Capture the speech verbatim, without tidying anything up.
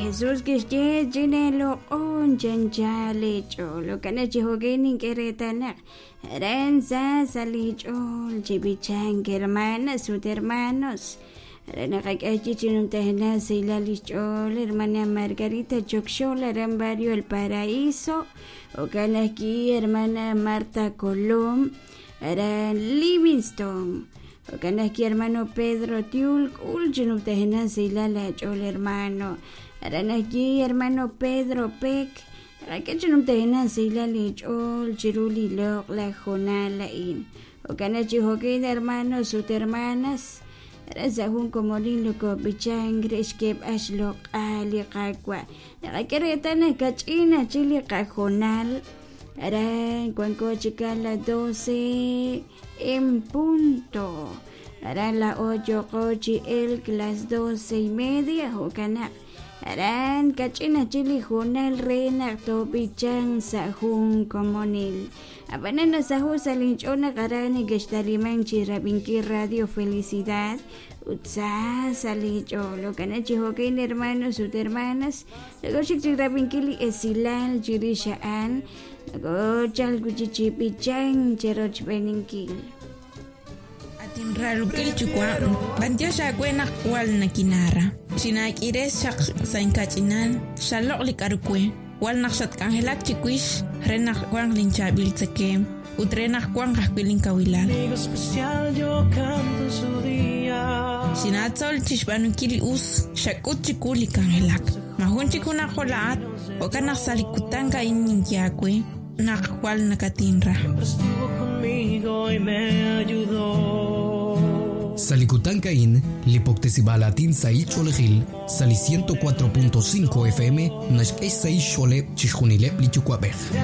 Jesús kixye chineeloq'on chanchal eech'ool jo'kan chi jo'kan nink'e reetal aran sa sa' li ch'ool chi b'ichank hermanas ut hermanos aran naqak'e chi chinumtajenaq sahilal li xch'ool hermana Margarita Chokxol aran barrio El Paraíso jo'kan ajwi' hermana Marta Colom aran Livingston jo'kan ajwi' hermano Pedro Tiul k'ul chinumtajenaq sahilal aach'ool hermano aran ajwi' hermano Pedro Peck naqak'e chinumtajenaq sahilal eech'ool chiru li loq'laj jonal a'in jo'kan chi jo'kan hermanos ut hermanas aran sa' jun komonil nokob'ichank re xk'eeb'al xloq'al li Qaawa' naqak'e reetal naq kach'in ajchik li qajonal aran wanko chik a las doce en punto aran la ocho chi elk las doce y media jo'kan naq aran kach'in ajchik li jonal re naq toob'ichank sa' jun komonil ab'anan nasaho' sa' linch'ool naq aran nekextaliman chi rab'inkil Radio Felicidad ut sa sa' li ch'ool jo'kan chi jo'kan hermanos ut hermanas nakoxik chi rab'inkil li esilal chirix a'an nakochal wi' chi b'ichank cherochb'eninkil. Atinralukil yuwa' b'antiox aawe naq wal nakinara xinaak'ires xaq sa' inkach'inal xaloq' li k'aru we wal naq xatk'anjelak chiwix re naq wanq linchaab'il tzekeem ut re naq wanq ajwi' linkawilal Amigo especial, yo canto en su día. xinaatzol chixb'aanunkil li us xak'ut chiwu li k'anjelak majun chik junaq jola'at jo'kan naq sa' li kutan a'in ninye aawe naq wal nakatinra. Siempre estuvo conmigo y me ayudó. Salikutankain, lipoktesibalatin sai cholejil, sali ciento cuatro punto cinco F M, naxk'ex sai xoleb chixjunileb li yuwa'b'ej.